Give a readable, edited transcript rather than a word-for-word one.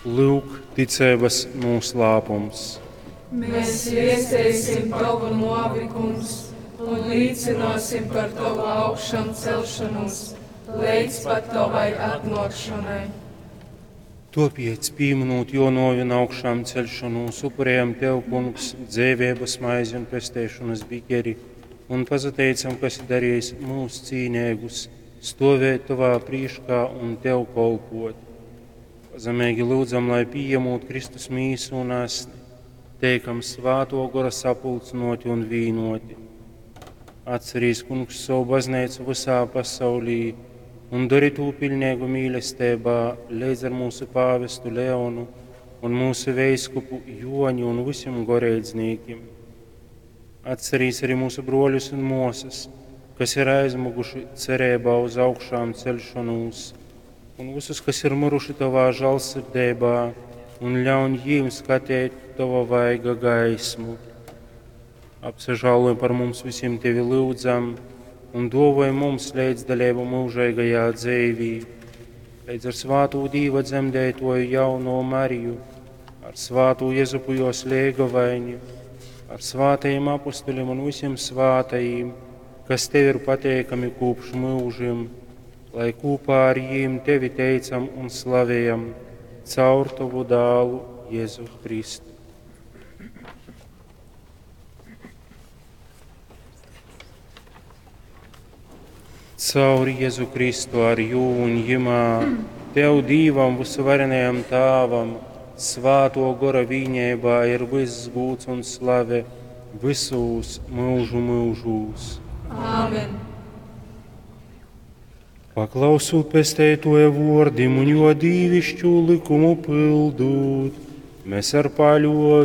Lyuk, ticeibas nūslāpums. Mēs viesteisim Tavu novi, Kungs, un līcināsim par Tavu augšām celšanos, līdz pat Tavai atnākšanai. Topiec, pīminūt jo novi un augšām celšanos, upurējam Tev, Kungs, dzēvības maizi un pesteišanas bikeri, un pazateicam, ka esi darījis mūs cīnēgus, stovēt Tavā prīškā un Tev kolpot. Pazemīgi lūdzam, lai pieņemot Kristus mīsu un asni, teikam svāto gora sapulcinoti un vīnoti. Atcerīs, Kungs, savu baznīcu visā pasaulī un dari tū pilnīgu mīlestībā līdz ar mūsu pāvestu Leonu un mūsu veiskupu Joņu un visiem goreidznīkim. Atcerīs arī mūsu broļus un mosas, kas ir aizmuguši cerībā uz augšām celšanos, un visus, kas ir miruši tavā žēlsirdībā, un ļauj jīm skatīt tava vaiga gaismu. Apsažāloj par mums visiem tevi lūdzam, un dovoj mums līdzdalību mūžīgajā dzīvī, līdz ar svāto Dīva dzemdētoju jauno Mariju, ar svāto Jezupu jos liegavaini, ar svātajiem apustuļiem un visiem svātajiem, kas tev ir pateikami kopš mūžiem, lai kopā ar jīm tevi teicam un slavējam caur tavu dālu Jēzu Kristu. Caur Jēzu Kristu ar jū un jimā, Tev Dīvam visuvarenajam Tāvam, svāto gora vīņībā ir viss gūts un slave visūs mūžu mūžūs. Āmen! Paklausūt pesteitoja vordim un jo dīvišķu likumu pildūt, mēs ar paļovi.